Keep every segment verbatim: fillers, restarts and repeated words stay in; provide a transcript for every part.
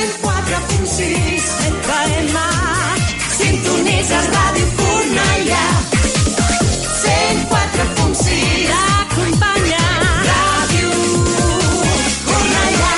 cent quatre punt sis F M. Sintonitzes Ràdio Cornellà. cent quatre punt sis T'acompanya Ràdio Cornellà.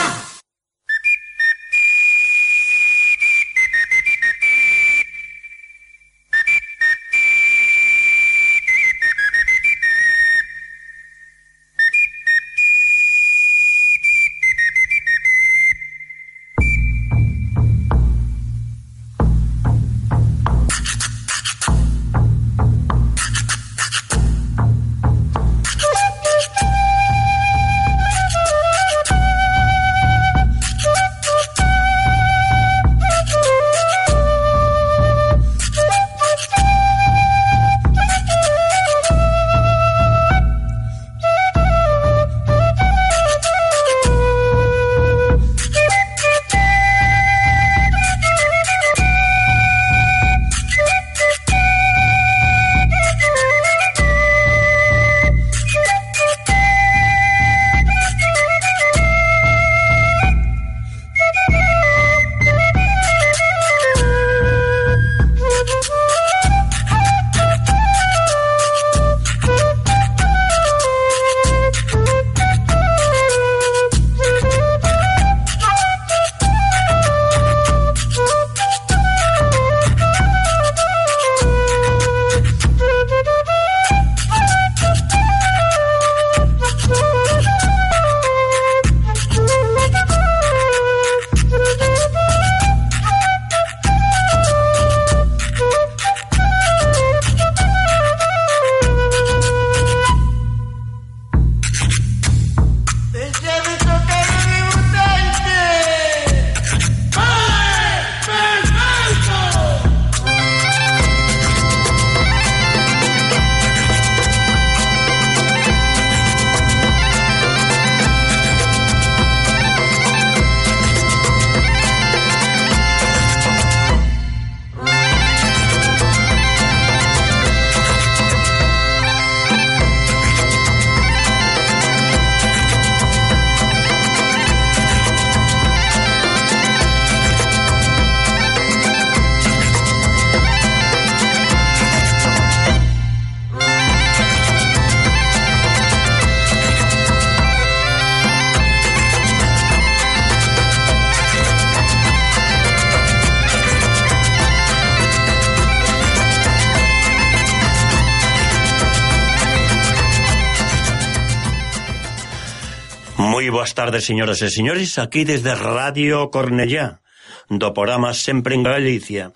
Moi boas tardes, señoras e señores, aquí desde Radio Cornellá, do programa Sempre en Galicia,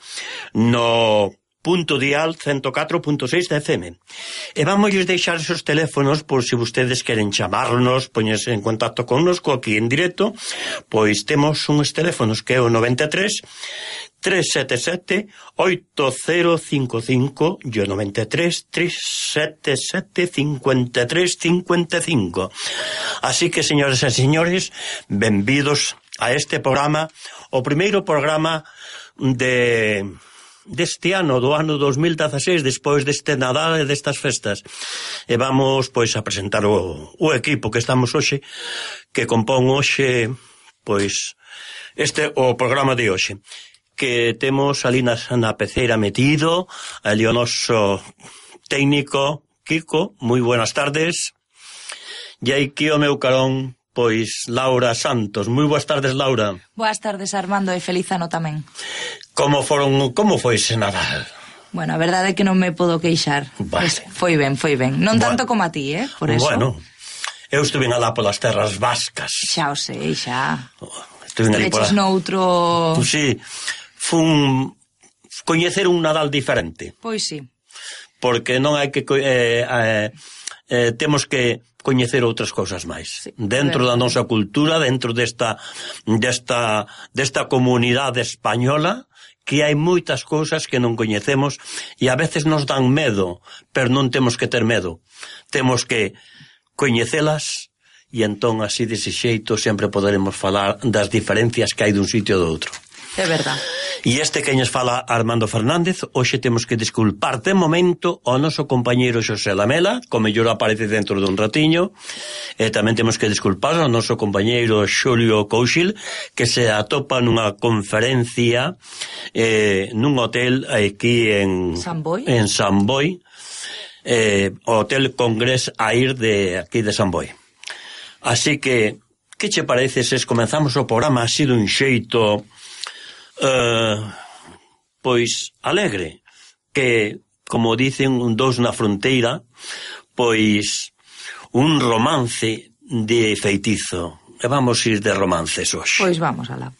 no punto dial ciento catro punto seis de F M. E vamos deixar esos teléfonos por se si vostedes queren chamarnos, poñerse en contacto connosco aquí en directo, pois temos uns teléfonos que é o noventa e tres, tres sete sete, oito cero cinco cinco e o noventa e tres, tres sete sete, cinco tres cinco cinco. Así que, señores e señores, benvidos a este programa, o primeiro programa de deste ano, do ano dos mil dieciséis, despois deste Nadal e destas festas. E vamos, pois, a presentar o, o equipo que estamos hoxe, que compón hoxe, pois, este o programa de hoxe. Que temos ali na, na peceira metido, ali o noso técnico, Kiko, moi buenas tardes. E aquí o meu carón, pois, Laura Santos. Moi boas tardes, Laura. Boas tardes, Armando, e feliz ano tamén. Como foron, como foi ese Nadal? Bueno, a verdade é que non me podo queixar. Vale. Foi ben, foi ben. Non bueno, tanto como a ti, eh? Por eso. Bueno, eu estuve alá polas terras vascas. Xa o sei, xa. Estuve ali pola... noutro... Pues sí, fun coñecer un Nadal diferente. Pois sí. Porque non hai que... Eh, eh, eh, temos que coñecer outras cousas máis. Sí, dentro da nosa cultura, dentro desta, desta, desta comunidade española, que hai moitas cousas que non coñecemos e a veces nos dan medo, pero non temos que ter medo. Temos que coñecelas e entón así dese xeito sempre poderemos falar das diferencias que hai dun sitio e do outro. É verdade. E este que nos fala Armando Fernández, hoxe temos que disculpar de momento ao noso compañeiro Xosé Lamela, co mellor aparece dentro dun ratiño, e tamén temos que disculpar ao noso compañeiro Xulio Couchil, que se atopa nunha conferencia eh, nun hotel aquí en San Boi, en San Boi, eh, Hotel Congrés Air de aquí de San Boi. Así que, que che parece se comenzamos o programa así dun xeito Uh, pois alegre, que como dicen un dous na fronteira, pois un romance de feitizo, e vamos ir de romances hoxe. Pois vamos alá.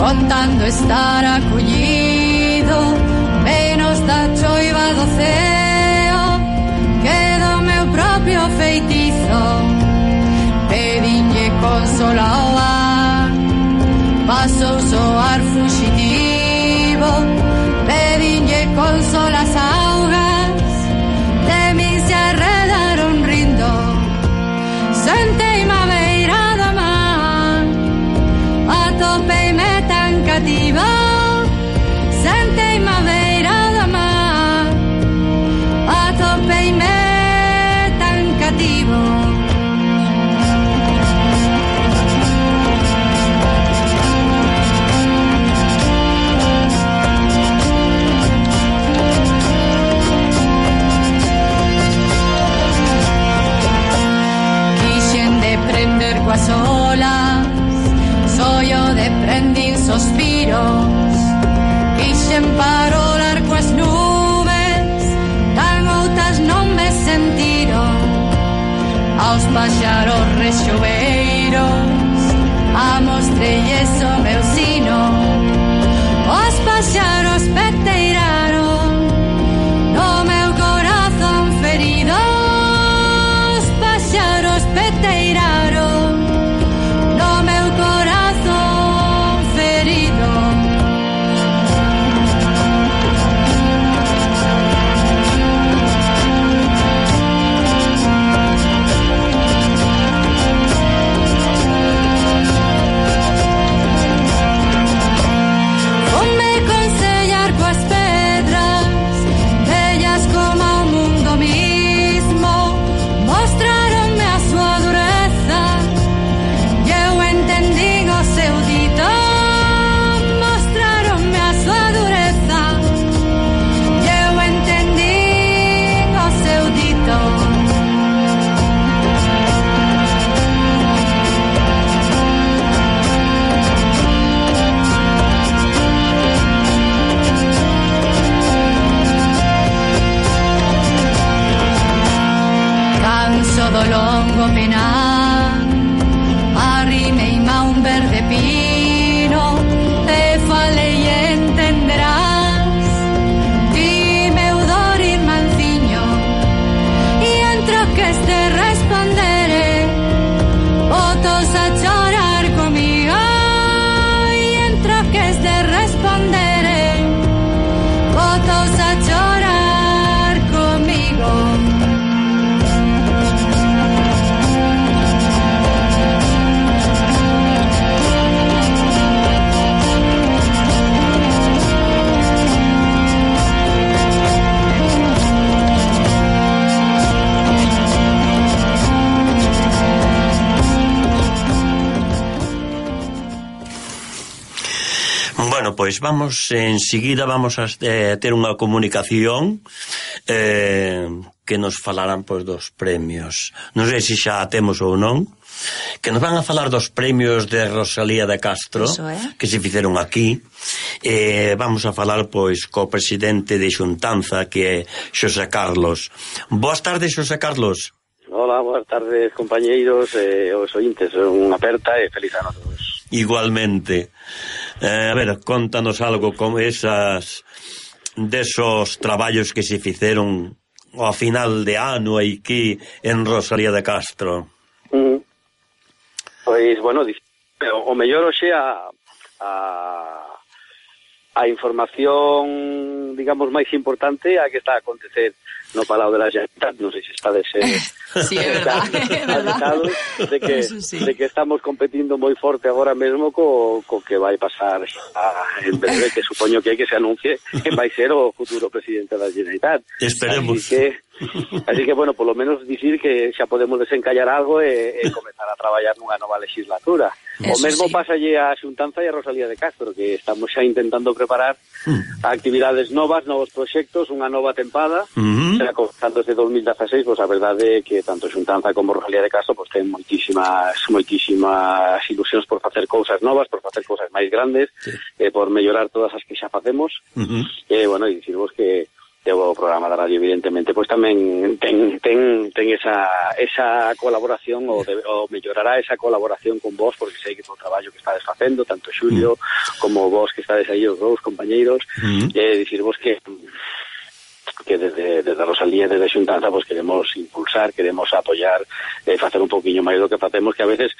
Contando estar acollido menos da choiva do ceo que do meu propio feitizo. Pedinlle consola ao ar, pasou soar fuxitivo. Pedinlle consola as augas, de min se arredaron rindo. Senteime a beira do mar, atopeime cativa, senteime a beira do mar, atopeime tan cativo. Quixen de prender coas olas, sollo de prendín sospiros, quixen parolar coas nubes, tan outas non me sentiron. Aos paxaros rexoveiros amostrelles o meu sino, os paxaros peteiraron no meu corazón ferido. Os paxaros peteiraron no meu corazón ferido. Ponme consellar coas pedras, bellas como o mundo mismo, mostraronme a súa dureza, e eu entendín o seu dito. Mostraronme a súa dureza, e eu entendín o seu dito. Canso do longo penar, arrimeime a un verde pino, te falei e entenderás. Dime o dor irmanciño, e entro que este respondere, botos a chorar comigo. E entro que este respondere, botos a chorar comigo. Bueno, pois vamos, enseguida vamos a eh, ter unha comunicación eh, que nos falarán pois dos premios. Non sei se xa temos ou non, que nos van a falar dos premios de Rosalía de Castro, é. que se fixeron aquí. Eh, vamos a falar pois co presidente de Xuntanza, que é Xosé Carlos. Boas tardes, Xosé Carlos. Hola, boas tardes, compañeiros e eh, os ointes. Unha aperta e feliz ano a todos. Igualmente. Eh, a ver, contanos algo como esas desos traballos que se fixeron ao final de ano aquí en Rosalía de Castro? Mm. Pois, bueno, o mellor hoxe a, a, a información, digamos, máis importante a que está a acontecer no Palau de la Generalitat. Non sei se está de ser... Sí, é verdad, é verdad. De que, sí. de que estamos competindo moi forte agora mesmo co, co que vai pasar a, en breve, que supoño que que se anuncie que vai ser o futuro presidente da Generalitat. Esperemos. Así que, así que bueno, polo menos dicir que xa podemos desencallar algo e, e comenzar a traballar nunha nova legislatura. Eso o mesmo sí. Pasalle a Xuntanza e a Rosalía de Castro, que estamos xa intentando preparar mm. actividades novas, novos proxectos, unha nova tempada, mm-hmm. xa comenzando desde dos mil dieciséis, pois pues, a verdade é que tanto Xuntanza como Rosalía de Castro pois pues, ten moitísimas moitísimas ilusións por facer cousas novas, por facer cousas máis grandes, sí. eh, por mellorar todas as que xa facemos. Uh-huh. E, eh, bueno, e dicirvos que o programa da radio, evidentemente, pois pues, tamén ten, ten, ten esa, esa colaboración ou, de, ou mellorará esa colaboración con vos, porque sei que o traballo que estades facendo, tanto Xulio uh-huh. como vos que estades aí, os dous compañeiros, uh-huh. e eh, dicirvos que que desde, desde Rosalía e desde Xuntanza pues queremos impulsar, queremos apoyar, eh, facer un poquinho máis do que facemos, que a veces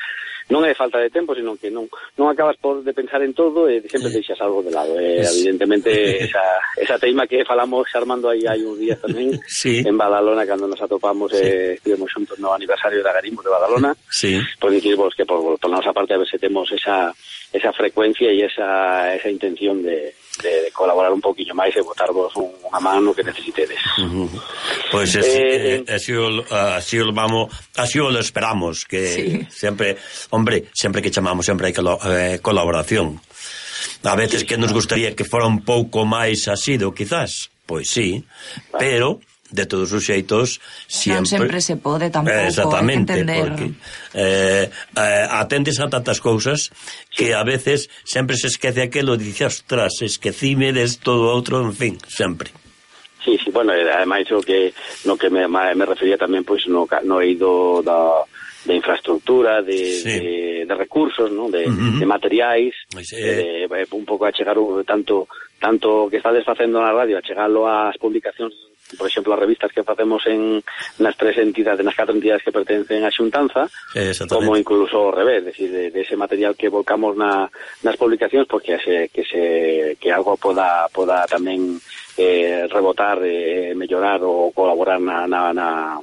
non é falta de tempo, sino que non non acabas por de pensar en todo e sempre eh, deixas algo de lado. Eh, evidentemente esa esa teima que falamos Armando aí hai uns días tamén sí. en Badalona, cando nos atopamos sí. eh, estivemos xuntos no aniversario da Garimos de Badalona, sí. pois dicirvos que por, por nosa parte a ver se temos esa esa frecuencia e esa esa intención de De, de colaborar un poquinho máis e botarvos un, unha mano que necesitedes. Uh-huh. Pois pues eh, eh, así, o, así o vamos, así o lo esperamos, que sí. sempre, hombre, sempre que chamamos sempre hai eh, colaboración. A veces sí, que nos gustaría que fora un pouco máis asido, quizás, pois sí, vale. Pero de todos os xeitos sempre... non sempre se pode tampouco, exactamente, entender porque eh, eh, atendes a tantas cousas que a veces sempre se esquece aquelo, dice, ostras, esquecime desto do outro, en fin, sempre. Sí, sí, bueno, ademais o que no que me, me refería tamén pois no, no eido da de infraestructura, de, sí. de, de recursos, ¿no? de, uh-huh. de materiais, sí. eh, un pouco a chegar tanto tanto que estades facendo na radio, a chegarlo ás publicacións, por exemplo, as revistas que facemos en nas tres entidades, nas catro entidades que pertencen á Xuntanza, como incluso ao revés, decir, de, de ese material que volcamos na, nas publicacións, porque se, que se que algo poda poda tamén eh, rebotar, eh, mellorar ou colaborar na na, na,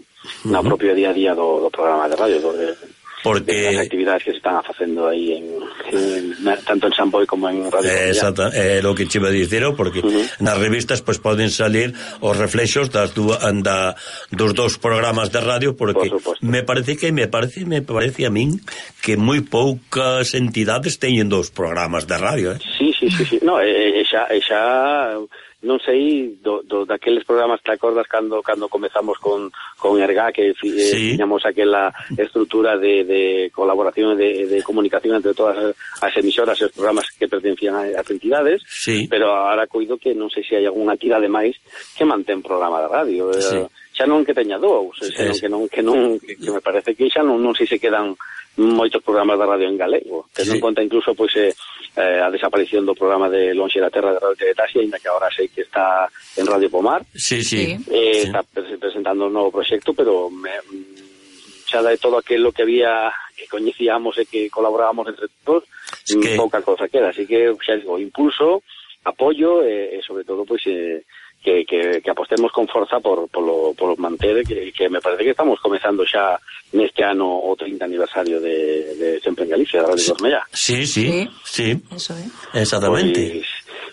na uh-huh. propio día a día do, do programa de radio, do, de, porque de as actividades que se están facendo aí en, en, tanto en San Boi como en Radio eh, exacto, é eh, lo que che iba a dicir, porque uh-huh. nas revistas pues, poden salir os reflexos das du, da, dos dous programas de radio, porque por me parece que me parece me parece a min que moi poucas entidades teñen dous programas de radio, eh? Sí, sí, sí, sí. No, e, e xa, e xa non sei do, do daqueles programas, te acordas cando cando comezamos con con Erga, que sí. tiñamos aquela estrutura de, de colaboración de, de comunicación entre todas as emisoras e os programas que pertencían ás entidades, sí. pero ahora coido que non sei se hai algunha entidade máis que mantén programa de radio, sí. xa non que teña dous, sí. senón que non que non que, que me parece que xa non non sei se quedan moitos programas de radio en galego, tendo sí. en conta incluso pois eh, eh, a desaparición do programa de Lonxe da Terra de Radio Teletasia, ainda que agora sei que está en Radio Pomar. Sí, sí. Eh, sí. Está presentando un novo proxecto, pero me, xa de todo aquilo que había que coñecíamos e que colaborábamos entre todos, es que... pouca cosa queda, así que xa digo, impulso, apoio e, e sobre todo pois eh, que, que, que apostemos con forza por, por, lo, por lo manter, que, que me parece que estamos comezando xa neste ano o trinta aniversario de, de Sempre en Galicia, de Radio sí. Cornellá. Sí, sí, sí, sí. Eso é. Exactamente. Pois,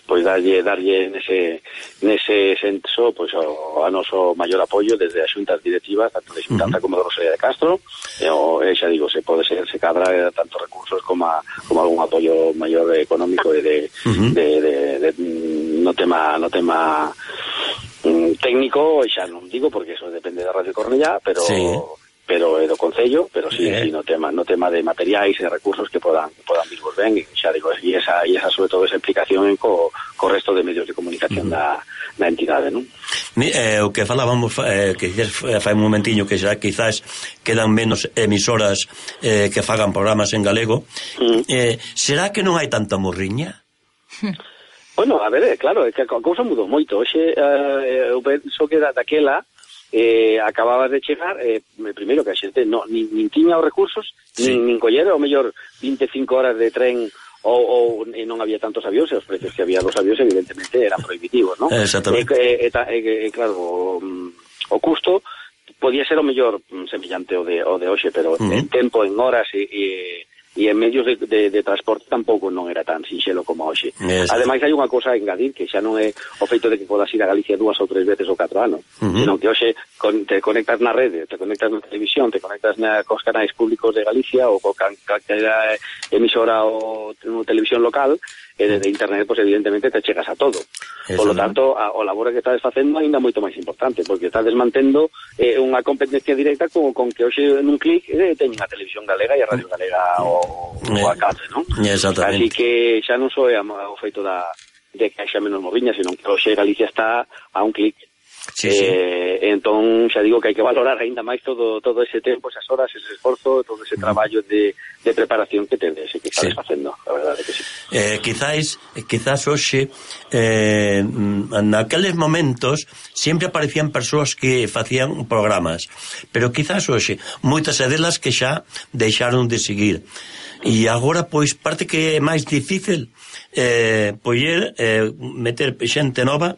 pois darlle, darlle nese, nese senso pois, o, a noso maior apoio desde as xuntas directivas, tanto de Xuntanza uh-huh. como de Rosalía de Castro, e, o, e xa digo, se pode ser, se cadra tanto recursos como, a, como algún apoio maior económico e de, uh-huh. de, de, de, de no tema no tema mm, técnico, xa non digo porque eso depende da Radio Cornellá, pero sí. pero é do Concello, pero sí, eh. sí no tema no tema de materiais e recursos que podan que podan vir ben, e xa digo, e esa e esa sobre todo esa implicación co co resto de medios de comunicación uh-huh. da da entidade, non? Eh, o que falábamos eh, que fai un momentiño que xa quizás quedan menos emisoras eh, que fagan programas en galego. Uh-huh. Eh, será que non hai tanta morriña? Bueno, a ver, claro, é que a cousa mudou moito. Hoxe, eh, eu penso que da, daquela eh, acababas de chegar, eh, primeiro que a xente no, nin, nin tiña os recursos, sí. nin, nin coller, ao mellor vinte e cinco horas de tren ou, ou e non había tantos avións, e os precios que había dos avións evidentemente eran prohibitivos, non? Exactamente. E, e, e, e claro, o, o custo podía ser o mellor semellante o de, o de hoxe, pero uh-huh. en tempo, en horas e... e e en medios de, de, de transporte tampouco non era tan sinxelo como hoxe. Yes. Ademais, hai unha cousa a engadir, que xa non é o feito de que podas ir a Galicia dúas ou tres veces ou catro anos, uh-huh. senón que hoxe con, te conectas na rede, te conectas na televisión, te conectas na, cos canais públicos de Galicia ou co calquera emisora ou televisión local, e de, de internet, pues evidentemente te chegas a todo. Eso, por lo tanto, a, o labor que estás facendo ainda moito máis importante, porque estás mantendo eh, unha competencia directa con, con que hoxe nun clic eh, teñen a televisión galega e a radio galega o, o a cable, non? Así que xa non só é o feito da, de que haxa menos moviña, senón que hoxe Galicia está a un clic. Sí, sí. Eh, entón xa digo que hai que valorar aínda máis todo todo ese tempo, esas horas, ese esforzo, todo ese traballo de, de preparación que tedes e que estás sí. facendo, a verdade que sí. Eh, quizás, quizás hoxe eh, naqueles momentos sempre aparecían persoas que facían programas, pero quizás hoxe moitas delas que xa deixaron de seguir. E agora, pois, parte que é máis difícil eh, poder eh, meter xente nova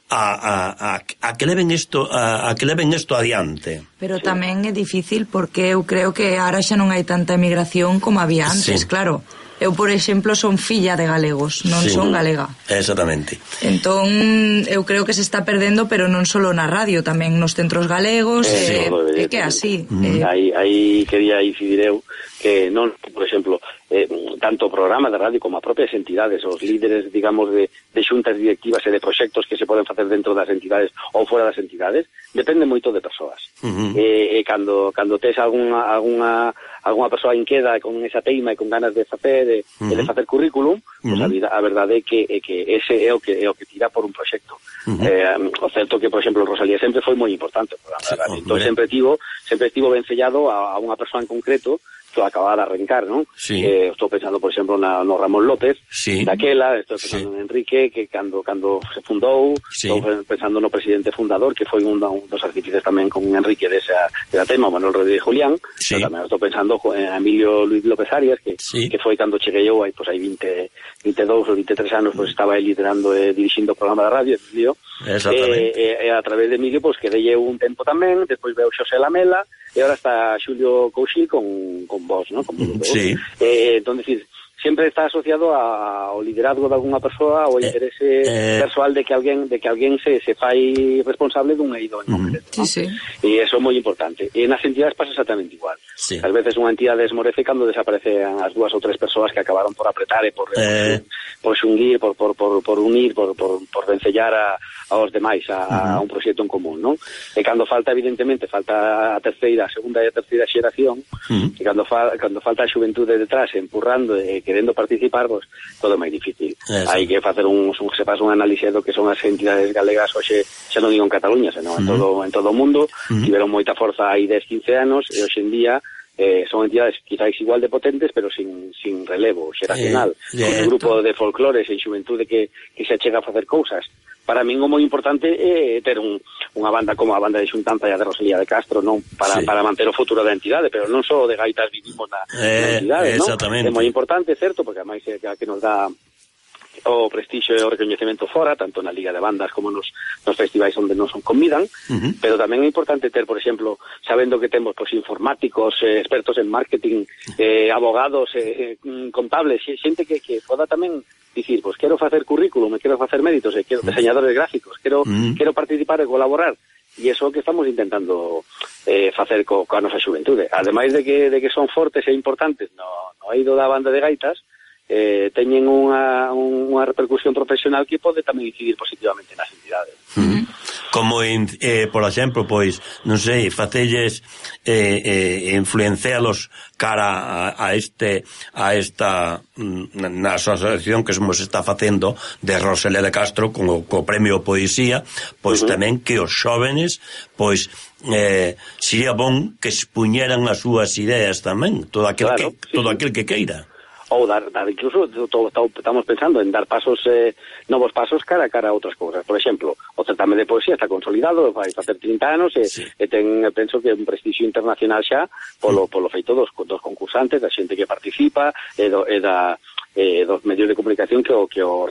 A, a, a, a que leven isto a, a que leven isto adiante. Pero sí. tamén é difícil porque eu creo que ahora xa non hai tanta emigración como había antes, sí. claro. Eu, por exemplo, son filla de galegos, non sí. son galega. Exactamente. Entón, eu creo que se está perdendo, pero non só na radio, tamén nos centros galegos, é eh, eh, que é así. Mm. Eh. Aí, aí quería incidir eu que non, por exemplo, eh, tanto o programa de radio como a propias entidades, os líderes, digamos, de, de xuntas directivas e de proxectos que se poden facer dentro das entidades ou fora das entidades, depende moito de persoas. Uh-huh. E, e cando, cando tes alguna, alguna, alguna persoa inqueda con esa teima e con ganas de facer, de, uh-huh. de facer currículum, uh-huh. pues a, vida, a verdade é que, é que ese é o que, é o que tira por un proxecto. Uh-huh. Eh, o certo que, por exemplo, Rosalía sempre foi moi importante o programa sí, de radio. Entón, sempre tivo, sempre tivo vencellado a, a unha persoa en concreto que acababa de arrancar, non? Sí. Eh, estou pensando, por exemplo, na, no Ramón López, sí. daquela, estou pensando sí. en Enrique, que cando cando se fundou, sí. estou pensando no presidente fundador, que foi un, un dos artífices tamén con Enrique desa, desa tema, Manuel Rodríguez Julián, sí. tamén estou pensando en Emilio Luis López Arias, que, sí. que foi cando cheguei eu, aí, pues, hai veinte, veintidous ou veintitrés anos, pues, estaba aí liderando e dirixindo o programa de radio, Emilio, e eh, eh, a través de Emilio, pues, quedei eu un tempo tamén, despois veo Xosé Lamela, e ahora está Xulio Couchil con, con vos, ¿no? Con vos. Sí. Eh, entón, decir, sempre está asociado a, ao liderazgo de alguna persoa ou ao interese eh, eh, persoal de que alguén de que alguén se, se fai responsable dun eido en concreto, ¿no? Sí, sí. E iso é moi importante. E nas entidades pasa exactamente igual. Sí. Ás veces unha entidade esmorece cando desaparecen as dúas ou tres persoas que acabaron por apretar e por eh. por xunguir, por, por, por, por unir, por, por, por vencellar a aos demais a, uh-huh. a un proxecto en común, non? E cando falta, evidentemente, falta a terceira, a segunda e a terceira xeración, uh-huh. e cando, fa, cando falta a xuventude detrás empurrando e querendo participar, pues, todo é máis difícil. Eso. Hai que facer un, un se pasa un análise do que son as entidades galegas hoxe, xa non digo en Cataluña, senón uh-huh. en todo en todo o mundo, uh-huh. tiveron moita forza hai dez, quince anos, e hoxe en día Eh, son entidades quizás igual de potentes, pero sin, sin relevo xeracional, eh, con un grupo de folclores e xuventude que, que se achega a facer cousas. Para min o moi importante é ter un, unha banda como a banda de Xuntanza e a de Rosalía de Castro, non para, sí. para manter o futuro da entidade, pero non só de gaitas vivimos na, eh, na entidade, non? É moi importante, certo, porque ademais é que nos dá o prestixio e o recoñecemento fora, tanto na Liga de Bandas como nos, nos festivais onde non son convidan, uh-huh. pero tamén é importante ter, por exemplo, sabendo que temos pues, informáticos, eh, expertos en marketing, eh, abogados, eh, contables, xente que, que poda tamén dicir, pues quero facer currículum, quero facer méritos, e quero diseñadores gráficos, quero, uh-huh. quero participar e colaborar, e iso que estamos intentando eh, facer co, coa nosa xuventude. Ademais de que, de que son fortes e importantes no, no eido da banda de gaitas, eh, teñen unha, unha repercusión profesional que pode tamén incidir positivamente nas entidades. Uh-huh. Como, eh, por exemplo, pois, non sei, facelles eh, eh, influencialos cara a, a este a esta na asociación que se está facendo de Rosalía de Castro con o, co premio Poesía, pois uh-huh. tamén que os xóvenes pois eh, sería bon que expuñeran as súas ideas tamén, todo aquel, claro, que, sí, todo aquel que queira. ou dar, dar incluso to, to, estamos pensando en dar pasos eh, novos pasos cara a cara a outras cousas. Por exemplo, o certame de poesía está consolidado, vai facer trinta anos e, sí. e ten, penso que un prestixio internacional xa polo, polo feito dos, dos concursantes, da xente que participa e, do, e da eh, dos medios de comunicación que o, que o,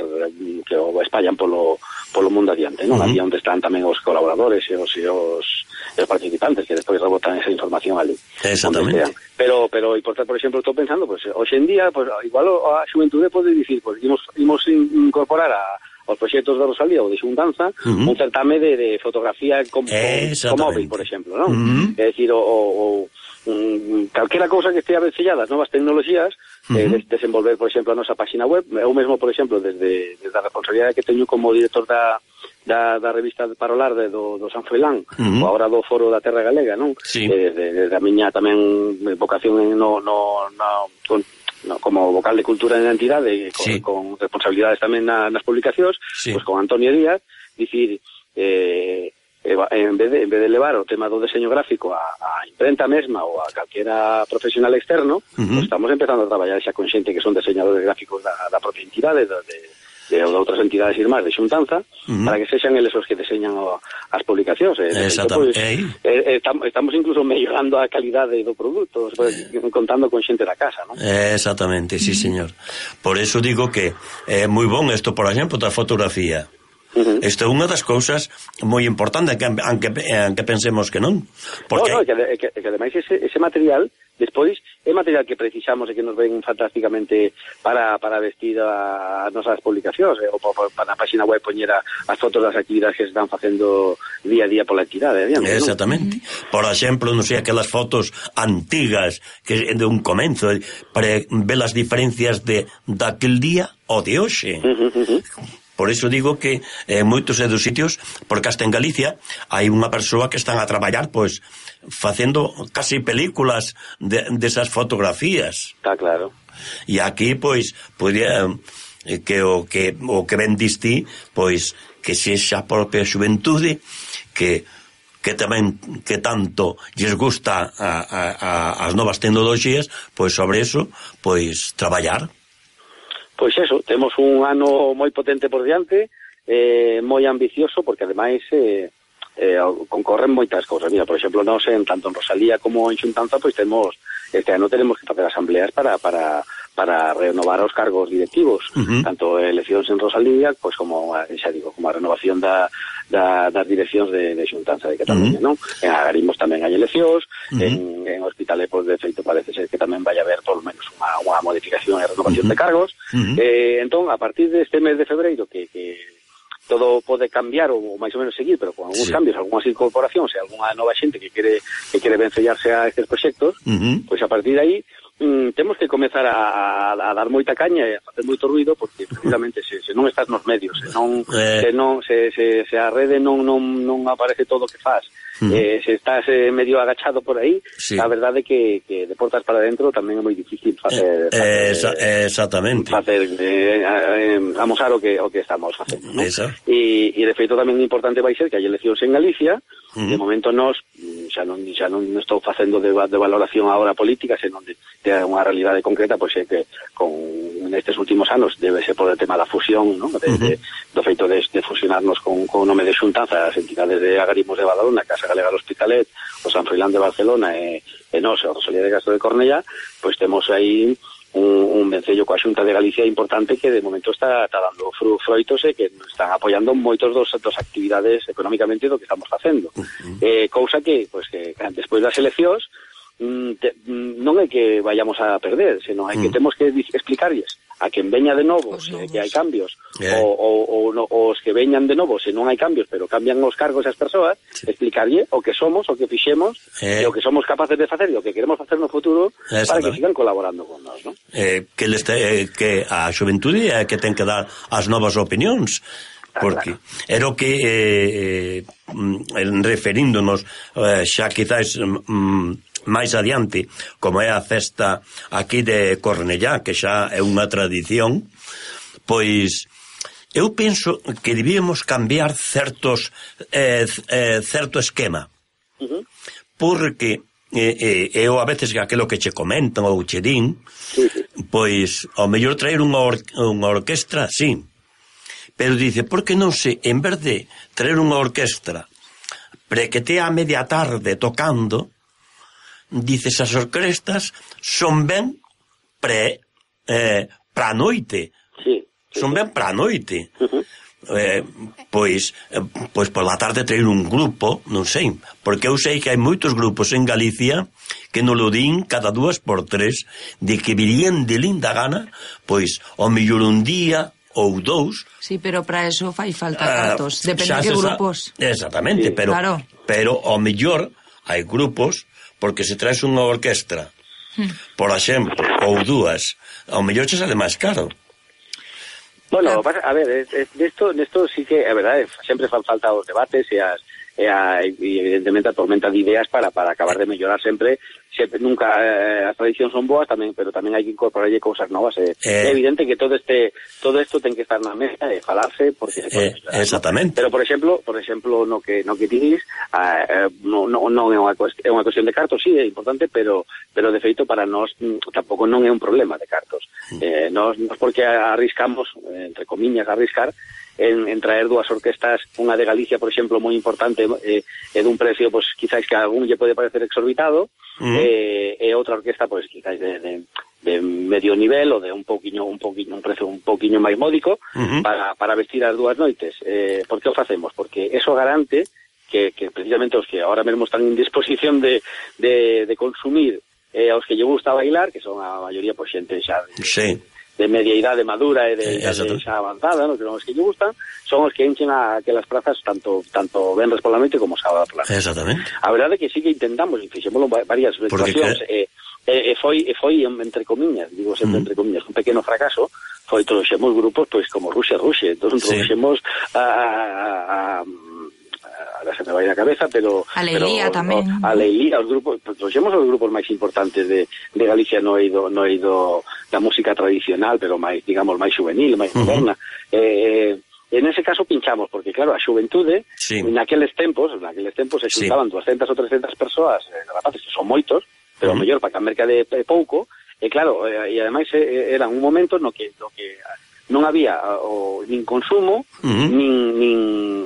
que o espallan polo, polo mundo adiante, non? Uh-huh. Aquí onde están tamén os colaboradores e os, e os, e os participantes que despois rebotan esa información ali. Exactamente. Pero, pero, por, por exemplo, estou pensando, pues, hoxe en día, pues, igual a xuventude pode dicir, pues, imos, imos incorporar a os proxectos da Rosalía ou de xuntanza, uh-huh. un certame de, de fotografía con, con, con móvil, por exemplo, non? Uh-huh. É dicir, o, o, um, calquera cousa que estea vencellada as novas tecnoloxías, uh-huh. eh, des, desenvolver, por exemplo, a nosa página web. Eu mesmo, por exemplo, desde, desde a responsabilidade que teño como director da da, da revista Parolar de, do, do San Froilán, uh-huh. ou agora do Foro da Terra Galega, non? Sí. Eh, desde a miña tamén vocación en, no, no, no, con, no, como vocal de cultura en a entidade, con, sí. con responsabilidades tamén na, nas publicacións, sí. pues con Antonio Díaz, dicir, eh, en vez de, en vez de levar o tema do deseño gráfico a, a imprenta mesma ou a calquera profesional externo, uh-huh. pues estamos empezando a traballar xa con xente que son diseñadores gráficos da, da propia entidade, de, de de outras entidades irmás de xuntanza, uh-huh. para que sexan eles os que deseñan o, as publicacións. Eh, Exactamente. Pues, eh, estamos, estamos incluso mellorando a calidade do produto, pues, contando con xente da casa, non? Exactamente, sí, señor. Por eso digo que é eh, moi bon isto, por exemplo, da fotografía. Uh-huh. Isto é unha das cousas moi importantes, que, aunque, aunque pensemos que non. Porque... No, no, que, que, que ademais ese, ese material despois é material que precisamos e que nos ven fantásticamente para, para vestir as nosas publicacións, eh, ou para na página web poñer as fotos das actividades que se están facendo día a día pola entidade. Adiante, exactamente. ¿No? Por exemplo, non sei, aquelas fotos antigas que de un comenzo, para ver as diferencias de daquel día ou de hoxe. Uh-huh, uh-huh. Por iso digo que en eh, moitos dos sitios, porque hasta en Galicia hai unha persoa que están a traballar, pois, facendo casi películas de, desas fotografías. Está claro. E aquí, pois, podría eh, que o que o que ben distí, pois, que sexa a propia xuventude que que tamén que tanto lles gusta a, a, a, as novas tecnoloxías, pois sobre eso, pois traballar. Pois eso, temos un ano moi potente por diante, eh, moi ambicioso, porque ademais eh, eh, concorren moitas cousas. Mira, por exemplo, nós en tanto en Rosalía como en xuntanza, pois temos, este ano tenemos que facer asambleas para para para renovar os cargos directivos, uh-huh. tanto eleccións en Rosalía, pois como, xa digo, como a renovación da Da, das direccións de, de xuntanza de Cataluña, uh-huh. non? En Agarimos tamén hai eleccións, uh-huh. en, en Hospitalet, pois, de feito, parece ser que tamén vai haber, por lo menos, unha, unha modificación e renovación uh-huh. de cargos. Uh-huh. Eh, entón, a partir deste mes de febreiro, que, que todo pode cambiar ou máis ou menos seguir, pero con algúns sí. cambios, algunhas incorporacións e algunha nova xente que quere que quere vencellarse a estes proxectos, uh-huh. pois a partir de aí Mm, temos que comezar a, a, a dar moita caña e a facer moito ruido, porque precisamente se, se non estás nos medios, se non eh. se non se, se, se a rede non, non, non aparece todo o que faz, mm. eh, se estás eh, medio agachado por aí, sí. a verdade é que, que de portas para dentro tamén é moi difícil facer, eh, facer esa, eh, exactamente facer eh, eh, amosar o que o que estamos facendo, ¿no? E, e de feito tamén importante vai ser que hai eleccións en Galicia. Uh-huh. De momento nós xa non xa non estou facendo de, de valoración agora política, senón de, de unha realidade concreta, pois é que con nestes últimos anos debe ser por o tema da fusión, ¿no? de, uh-huh. de, do feito de, de fusionarnos con, con o nome de xuntanza as entidades de Agarimos de Badalona, Casa Galega do Hospitalet, o San Froilán de Barcelona e, e nós, a Rosalía de Castro de Cornellá, pois temos aí un, un vencello coa Xunta de Galicia importante que de momento está, está dando fru, froitos e que están apoiando moitos dos, dos actividades económicamente do que estamos facendo. Uh-huh. Eh, cousa que, pues, que despois das eleccións te, non é que vayamos a perder, senón é que uh-huh. temos que explicarlles a quen veña de novo se, que hai cambios, yeah. o, o, o, no, os que veñan de novo se non hai cambios, pero cambian os cargos as persoas, sí. explicarlle o que somos, o que fixemos, eh. e o que somos capaces de facer e o que queremos facer no futuro para que sigan colaborando con nós, ¿no? Eh, que, les te, eh, que a xuventude é que ten que dar as novas opinións, porque era o que eh, eh, referíndonos eh, xa quizás mm, máis adiante, como é a festa aquí de Cornellá, que xa é unha tradición, pois eu penso que debíamos cambiar certos eh, eh, certo esquema, uh-huh. porque e, e eu a veces que aquilo que che comentan ou che din, sí, sí. pois ao mellor traer unha, or, unha orquestra, sí, pero dice, por que non se, en vez de traer unha orquestra pre que te a media tarde tocando, dices, as orquestas son ben pre eh, pra noite, sí, sí, son ben pra noite. Uh-huh. Eh, pois eh, pois pola tarde traer un grupo, non sei, porque eu sei que hai moitos grupos en Galicia que non lo din cada dúas por tres, de que virían de linda gana, pois ao mellor un día ou dous. Sí, pero para eso fai falta cartos, uh, depende de que grupos. Exactamente, sí, pero claro. Pero ao mellor hai grupos, porque se traes unha orquestra, hmm. por exemplo, ou dúas, ao mellor che sale máis caro. Bueno, a ver, nesto nesto sí que, é verdade, sempre fan falta os debates e as e, a, e evidentemente a tormenta de ideas para para acabar de mellorar sempre, sempre nunca eh, as tradicións son boas tamén, pero tamén hai que incorporarlle cousas novas. Eh. Eh, é evidente que todo este todo isto ten que estar na mesa e falarse porque se pode eh, exactamente. ¿no? Pero por exemplo, por exemplo, no que no que dices, eh, no no non é unha é unha cuestión de cartos, sí, é importante, pero pero de feito para nós tampouco non é un problema de cartos. Eh, nós, nós porque arriscamos, entre comillas, arriscar En, en traer dúas orquestas, unha de Galicia, por exemplo, moi importante, eh, e dun precio, pues, quizás que a algún lle pode parecer exorbitado, uh-huh. eh, e outra orquesta, pues, quizás de, de, de medio nivel, ou de un poquinho, un poquinho, un precio un poquinho máis módico, uh-huh. para, para vestir as dúas noites. Eh, por que o facemos? Porque eso garante que, que precisamente os que ahora mesmo están en disposición de, de, de consumir, eh, aos que lle gusta bailar, que son a maioría, pues, xente xa de... Sí. de media idade madura e de, eh, de xa avanzada, ¿no? Que son os que lle gustan, son os que enchen a que las plazas tanto tanto venres pola noite como sábado pola noite. Exactamente. A verdade é que sí que intentamos, e fixémoslo varias situacións, e, e, e foi e foi entre comillas, digo sempre mm. entre comillas, un pequeno fracaso, foi trouxemos grupos pois como Rusia Rusia, entón trouxemos sí. a, a, a a se me vai na cabeza, pero a Leilía tamén. A Leilía, os grupos, trouxemos os grupos máis importantes de, de Galicia no eido, no eido da música tradicional, pero máis, digamos, máis juvenil, máis uh-huh. moderna. Eh, en ese caso pinchamos, porque claro, a xuventude, sí. naqueles tempos, naqueles tempos se xuntaban sí. doscientas ou trescientas persoas, eh, rapaces, que son moitos, pero uh-huh. mellor para que a merca de pouco, e claro, eh, e ademais eh, era un momento no que, no que non había o, nin consumo, uh-huh. nin, nin,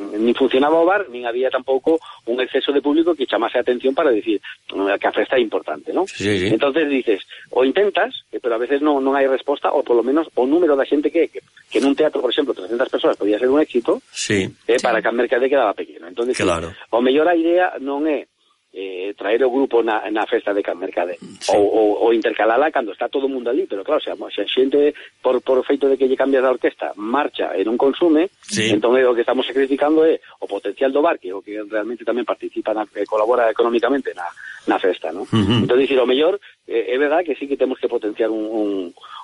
nin funcionaba o bar, nin había tampouco un exceso de público que chamase a atención para decir que a festa é importante, ¿no? Sí, sí. Entonces dices, o intentas, pero a veces non, non hai resposta, ou polo menos o número da xente que, que, que nun teatro, por exemplo, trescentas persoas podía ser un éxito, sí. eh, para que a mercade quedaba pequeno. Entonces, claro. sí, o mellor a idea non é eh, traer o grupo na, na festa de Can Mercade sí. ou, ou, ou intercalala cando está todo o mundo ali, pero claro, se a, se a xente por, por feito de que lle cambias a orquesta marcha e non consume, sí. entón o que estamos sacrificando é o potencial do bar, que o que realmente tamén participa na, que colabora económicamente na, na festa, ¿no? Uh-huh. Entón, dicir, o mellor eh, é verdad que sí que temos que potenciar un, un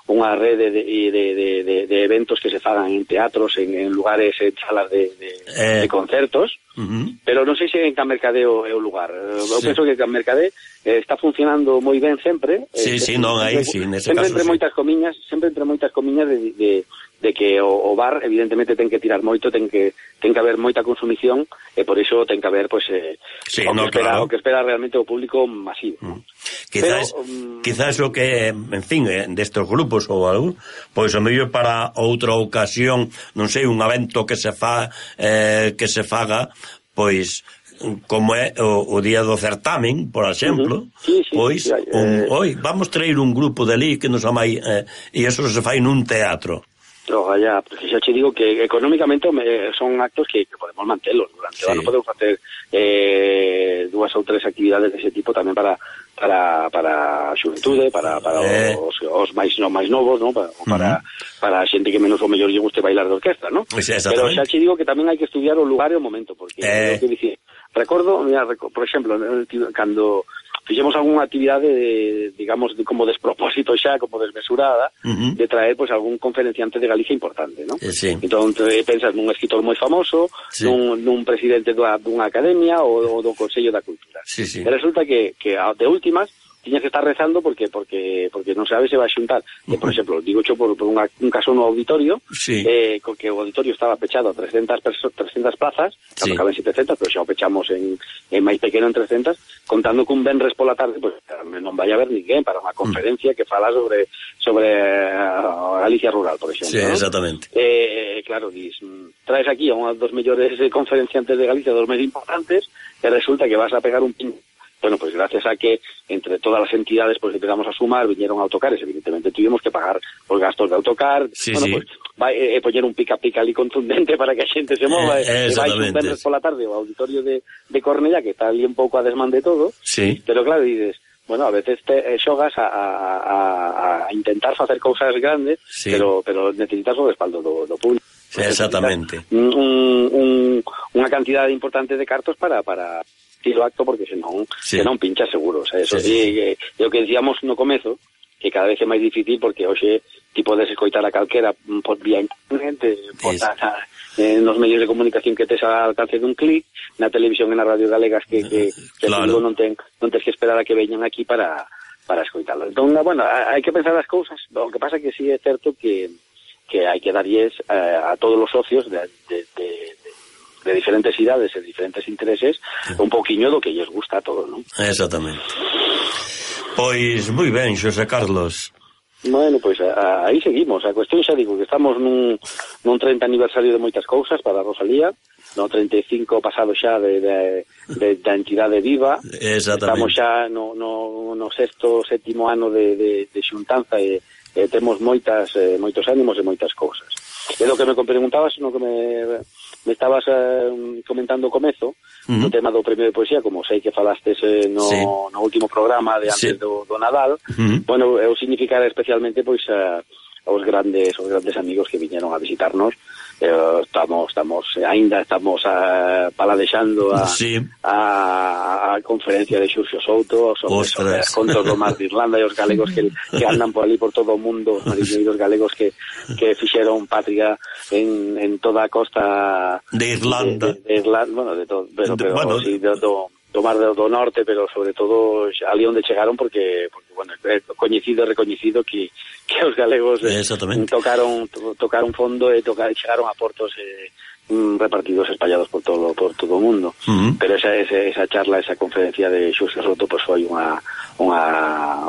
unha rede de, de, de, de, de eventos que se fagan en teatros, en, en lugares, en salas de, de, eh. de concertos, uh-huh. pero non sei se en Can Mercade é o lugar. Eu sí. penso que Can Mercade eh, está funcionando moi ben sempre. Sí, eh, sí, non hai, sí, nese sempre caso entre sí. moitas comiñas, sempre entre moitas comiñas de, de, de que o, o bar evidentemente ten que tirar moito, ten que ten que haber moita consumición e por iso ten que haber pois eh, sí, o, no, que espera, claro. o que espera realmente o público masivo. Mm. Quizás, pero, um, quizás o que, en fin, eh, destes grupos ou algo, pois o mellor para outra ocasión, non sei, un evento que se fa eh, que se faga, pois como é o, o día do certamen, por exemplo, uh-huh. sí, sí, pois sí, sí, un, eh... oi, vamos traer un grupo de ali que nos amai eh, e eso se fai nun teatro. Ojalá, porque xa te digo que económicamente me, son actos que, que podemos mantelos durante sí. o ano, podemos facer eh, dúas ou tres actividades dese tipo tamén para para para a xuventude, para para eh. os, os máis no máis novos, ¿no? Para para, uh-huh. para a xente que menos o mellor lle guste bailar de orquesta, ¿no? Pues pero xa te digo que tamén hai que estudiar o lugar e o momento, porque eh. que dicir, recordo, mira, por exemplo, cando fixemos algunha actividade de, digamos, de, como despropósito xa, como desmesurada, uh-huh. de traer, pois, pues, algún conferenciante de Galicia importante, ¿no? Eh, sí. Entón, pensas nun escritor moi famoso, sí. nun, nun presidente dunha, dunha academia ou, ou do Consello da Cultura. Sí, sí. E resulta que, que de últimas, tiñas que estar rezando porque porque porque non sabes se vai xuntar. Que, por exemplo, digo cho por, por unha, un caso no auditorio, sí. eh, que o auditorio estaba pechado a trescentas, perso- trescentas plazas, sí. caben setecentas, pero xa o pechamos en, en máis pequeno en trescentas, contando que un venres pola tarde, pues, non vai a haber ninguén para unha conferencia mm. que fala sobre sobre a Galicia rural, por exemplo. Sí, ¿no? exactamente. Eh, claro, dis, traes aquí a unha dos mellores conferenciantes de Galicia, dos máis importantes, e resulta que vas a pegar un pin. Bueno, pues gracias a que entre todas las entidades pues empezamos a sumar, vinieron autocares, evidentemente tuvimos que pagar los gastos de autocar, sí, bueno, sí. pues vai eh, poñer un pica-pica ali contundente para que a xente se mova, eh, e vai un venres pola tarde ao auditorio de, de Cornellá, que está ali un pouco a desmán de todo, sí. pero claro, dices, bueno, a veces te eh, xogas a, a, a, a intentar facer cousas grandes, sí. pero pero necesitas o respaldo do, do público. Sí, exactamente. Un, un, unha cantidade importante de cartos para... para o acto, porque senón, sí. senón pincha seguro, o sea, eso sí, sí, sí. É o que decíamos no comezo, que cada vez é máis difícil porque hoxe ti podes escoitar a calquera por vía internet, por a, eh, nos medios de comunicación que tes al alcance dun clic, na televisión e na radio galegas que, que, que claro. non ten non tens que esperar a que veñan aquí para para escoitarlo. Entón, bueno, hai que pensar as cousas, o que pasa que sí é certo que que hai que darlles eh, a todos os socios de, de, de de diferentes idades e diferentes intereses, un poquinho do que lles gusta a todos, non? Exactamente. Pois, moi ben, Xosé Carlos. Bueno, pois a, a, aí seguimos. A cuestión xa digo que estamos nun, nun treinta aniversario de moitas cousas para a Rosalía, no treinta e cinco pasado xa de, de, de, da entidade viva. Estamos xa no, no, no sexto, sétimo ano de, de, de xuntanza e, e temos moitas, eh, moitos ánimos e moitas cousas. E do que me preguntabas, no que me... me estabas uh, comentando o comezo, uh-huh. o tema do premio de poesía, como sei que falastes eh, no, sí. no último programa de antes sí. do, do Nadal, uh-huh. bueno, eu significar especialmente pois uh, aos grandes os grandes amigos que viñeron a visitarnos. Eh, estamos estamos aínda estamos uh, paladexando a, sí. a, a conferencia de Xurxo Souto sobre, sobre as contos do mar de Irlanda e os galegos que, que andan por ali por todo o mundo, os mariñeiros galegos que, que fixeron patria en, en toda a costa de Irlanda, de, de, de Irlanda, bueno, de todo, pero, pero bueno, sí, do, do, do mar do, do norte, pero sobre todo ali onde chegaron porque, porque bueno, é coñecido e recoñecido que que os galegos eh, tocaron to, tocaron fondo e tocaron, chegaron a portos eh, repartidos, espallados por todo por todo o mundo. Uh-huh. Pero esa, esa esa charla, esa conferencia de Xurxo Souto, pues foi unha unha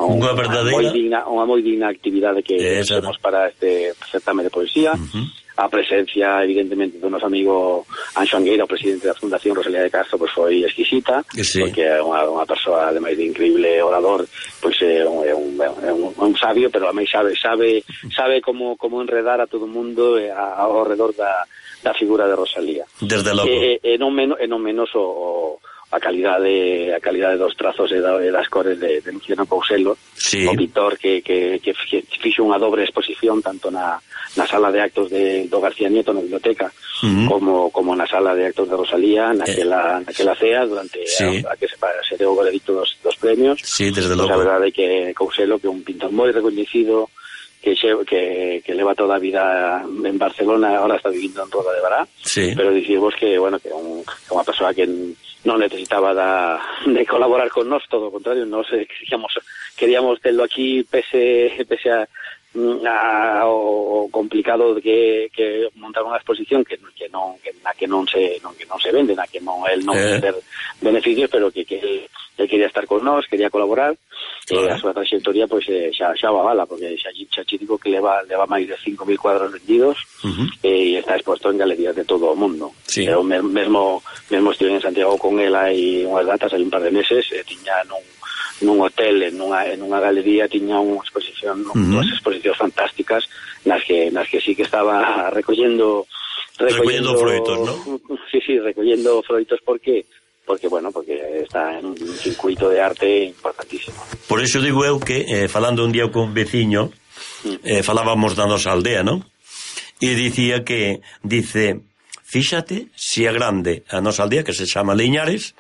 unha verdadeira, moi digna, unha moi digna actividade que temos para este certame de poesía. Uh-huh. A presencia, evidentemente, do noso amigo Anxo Angueira, o presidente da Fundación Rosalía de Castro, pois foi exquisita, sí. porque é unha, unha persoa, ademais de increíble orador, pois é un, é un, é un, un sabio, pero a mí sabe sabe sabe como como enredar a todo o mundo ao redor da, da figura de Rosalía. Desde logo. E, e, non, menos, e non menos o, a calidade a calidade dos trazos e, da, e das cores de, de Luciano Couselo, sí. o pintor que, que, que fixo unha dobre exposición tanto na na sala de actos de do García Nieto na biblioteca, uh-huh. como como na sala de actos de Rosalía, naquela eh. naquela cea durante sí. a, a que se, se deu o veredicto dos, dos premios. Sí, desde pues logo. A verdade é que Couselo, que é un pintor moi recoñecido, que xe, que que leva toda a vida en Barcelona, ahora está vivindo en Roda de Bará, sí. pero dicimos que bueno, que é un, unha persoa que non necesitaba da, de colaborar con nós, todo o contrario, nós eh, queríamos queríamos terlo aquí pese pese a A, o, o complicado de que, que montar unha exposición que, que non que, na que non se non que non se vende, na que non el non eh. ter beneficios, pero que, que el, el quería estar con nós, quería colaborar. Claro. E a súa trayectoria pois pues, xa xa va bala, porque xa xa digo que leva leva máis de cinco mil cuadros vendidos, uh-huh. e está exposto en galerías de todo o mundo. Sí. Eu mesmo mesmo estive en Santiago con el hai unhas datas, hai un par de meses, e tiña nun nun hotel, en unha, en unha galería tiña unha exposición, uh-huh. unhas exposicións fantásticas nas que nas que sí que estaba recollendo recollendo, recollendo froitos, ¿no? Sí, sí, recollendo froitos porque porque bueno, porque está en un circuito de arte importantísimo. Por iso digo eu que eh, falando un día con un veciño, eh, falábamos da nosa aldea, ¿no? E dicía que dice, fíxate si é grande a nosa aldea, que se chama Liñares,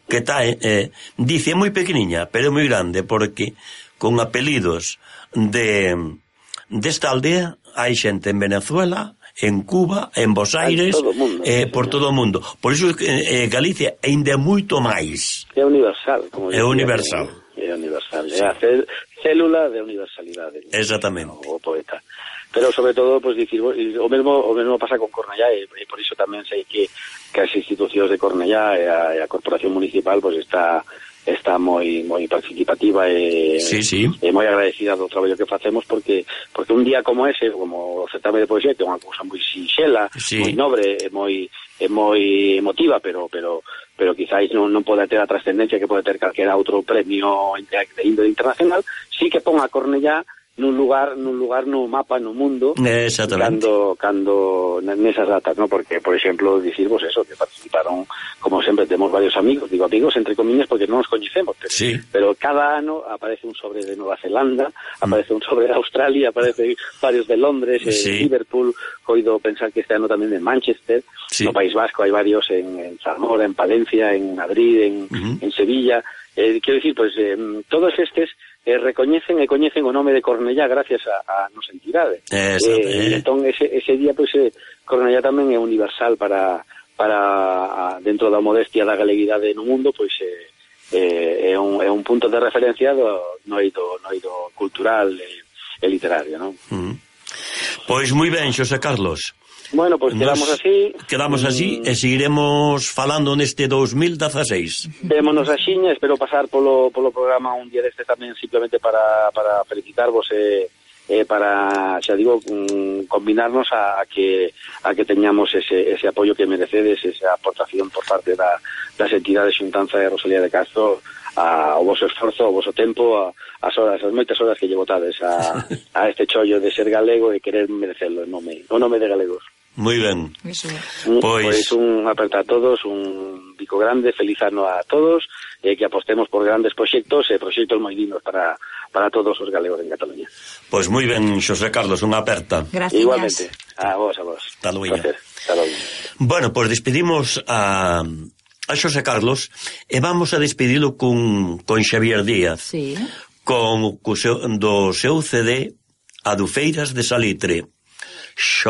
que está, eh, dice, moi pequeniña, pero moi grande, porque con apelidos de desta aldea hai xente en Venezuela, en Cuba, en Bos Aires, mundo, eh, por todo o mundo. Por iso eh, Galicia ainda é moito máis. É universal, como é universal. É universal. inevitable, é a célula de universalidade. Exactamente. O poeta. Pero sobre todo, pues dicir, o mesmo o mesmo pasa con Cornellá e, e por iso tamén sei que, que as institucións de Cornellá e a, e a Corporación Municipal pues está está moi moi participativa e, sí, sí. e moi agradecida do traballo que facemos porque porque un día como ese, como o certame de poesía, que é unha cousa moi sinxela, sí. moi nobre e moi e moi emotiva, pero pero pero quizáis non, non pode ter a trascendencia que pode ter calquera outro premio de índole internacional, sí que pon a Cornellá nun lugar nun lugar no mapa no mundo cando cando nesas datas, ¿no? Porque por exemplo dicir vos eso que participaron, como sempre temos varios amigos, digo amigos entre comillas porque non nos coñecemos, pero, sí. pero cada ano aparece un sobre de Nueva Zelanda, aparece mm. un sobre de Australia, aparece varios de Londres, sí. eh, Liverpool, coido pensar que este ano tamén de Manchester, sí. No País Vasco hai varios en, en Zamora, en Palencia, en Madrid, en, uh-huh. en Sevilla, eh, quero dicir, pues eh, todos estes eh, recoñecen e coñecen o nome de Cornellá gracias a, a nosa entidade. Eh, eh, entón, ese, ese día, pues, eh, Cornellá tamén é universal para, para dentro da modestia da galeguidade no mundo, pois eh, eh, é, un, é un punto de referencia do, no eido, no eido cultural e, e literario, non? Mm. Pois moi ben, Xosé Carlos. Bueno, pois pues quedamos Nos así. Quedamos así mm. e seguiremos falando neste dos mil dezaseis. Vémonos a xiña, espero pasar polo, polo programa un día deste tamén simplemente para, para felicitarvos e, e para, xa digo, mm, combinarnos a, a que a que teñamos ese, ese apoio que merecedes, esa aportación por parte da, das entidades Xuntanza de Rosalía de Castro a, o voso esforzo, o voso tempo, a, as horas, as moitas horas que lle botades a, a este chollo de ser galego e querer merecerlo en nome, o nome de galegos. Moi ben. Pois pues un aperta a todos, un bico grande, feliz ano a todos, e que apostemos por grandes proxectos e proxectos moi dignos para, para todos os galegos en Cataluña. Pois pues moi ben, Xosé Carlos, unha aperta. Gracias. Igualmente. A vos, a vos. Hasta luego. Hasta luego. Bueno, pois pues despedimos a a Xosé Carlos e vamos a despedilo con, con Xavier Díaz. Sí. Con, co seu, do seu C D Adufeiras de Salitre. Xo